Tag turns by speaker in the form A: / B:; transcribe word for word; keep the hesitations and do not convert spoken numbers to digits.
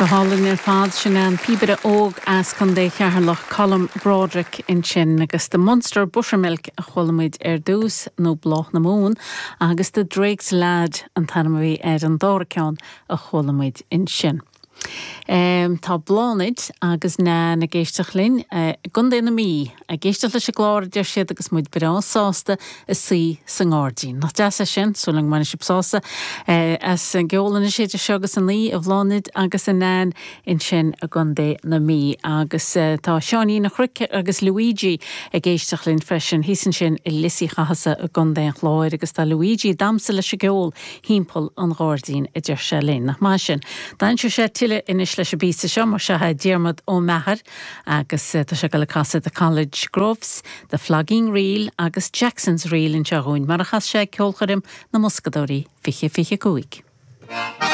A: Go hálainn ar fad sin an píobaire óg as Contae Cheatharlach Colm Broderick ansin agus The Munster Buttermilk a chuala muid ar dtús nó Bláth na Mumhan agus The Drake's Lad an t-ainm a bhí ar an dara ceann a chuala muid ansin. Um, tá Bláthnaid agus Nan ag éisteacht linn uh, gContae na Mí ag éisteacht leis an gclár deir siad agus muid breá sásta ag suí sa ngairdín. Nach deas é sin súil agam go mbainfidh sibh sásamh uh, as an gceol na séide seo agus an ní a Bhláthnaid agus a Nan ansin i gContae na Mí agus uh, tá Seáinín a Chruic agus Luigi ag éisteacht linn freisin thíos ansin i Lios Uí Chathasaigh i gContae an Chláir agus tá Luigi ag damhsa leis an gceol timpeall an ghairdín a deir sé linn nach maith sin. D'aimsigh sé tuilleadh anois leis an bpíosa seo mar seo Diarmuid Ó Meachair agus tá sé le casadh The College Groves, The Flogging Reel agus Jackson's Reel anseo dhúinn mar a chas sé ceolchoirm na mBoscadóirí fiche fiche cúig.